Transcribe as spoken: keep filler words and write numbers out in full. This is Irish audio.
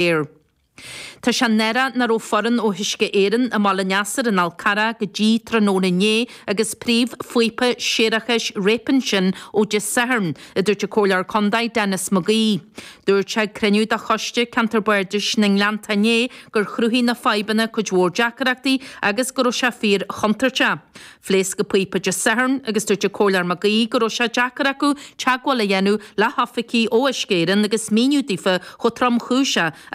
léir. Tá sé náireach nach raibh foireann ó Uisce Éireann i mBaile Neasair an Fhál Carrach go dtí tráthnóna inné agus príomhphíopa séarachais réabtha ansin ó Dé Sathairn, a dúirt an Comhairleoir Contae Denis McGee. Dúirt sé ag cruinniú de choiste ceantar Bardais na nGleannta inné gur chruthaigh na fadhbanna cuid mhór deacrachtaí agus go raibh sé fíor chontúirteach. Phléasc an píopa Dé Sathairn agus dúirt an Comhairleoir McGee go raibh sé deacair acu teagmháil a dhéanamh le hoifigigh ó Uisce Éireann agus míniú daofa chomh tromchúiseach